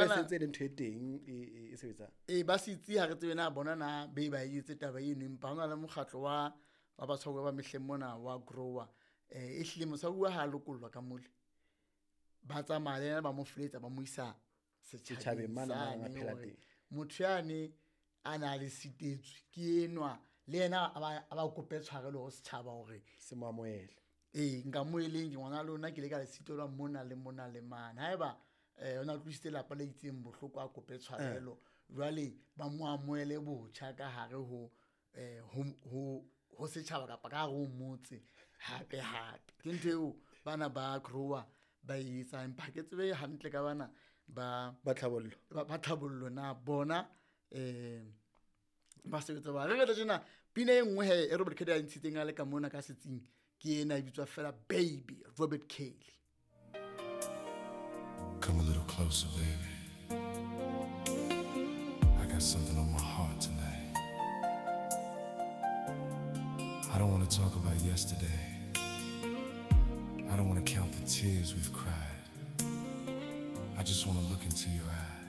Jwale bana sentse e le ntho e teng e sebetsang. Ee, ba setsi ha re tsebe na bona na be ba etse taba eno, empa ho na le mokgatlo wa batshwaruwa ba mehleng mona wa grower. E hlile motshwaruwa ha a lokollwa ka mole, ba tsamaya le yena, ba mo feletsa, ba mo isa setjhabeng mane sane a phela hore teng. Motho yane a na le sitetswe ke enwa, le yena a ba kope tshwarelo ho setjhaba hore se mo amohele. Ee, nka mo eleng ke ngwana lona, ke ile ka le sitelwa mona le mona le mane. Haeba o na utlwisitse lapa le itseng bohloko, a kope tshwarelo. Jwale ba mo amohele botjha ka hare ho setjhaba kapa ka hare ho motse hape hape. Ke ntho eo bana ba grower ba e etsang, empa ha ke tsebe hantle ka bana ba Ba tlhabollo. Ba tlhabollo na bona ba sebetsa ba. Re re tjena pina e nngwe he e Robert Kelly a ntshitseng a le ka mona ka setsing, ke ena e bitswa fela Baby, Robert Kelly. Come a little closer, baby. I got something on my heart tonight. I don't want to talk about yesterday. I don't want to count the tears we've cried. I just want to look into your eyes.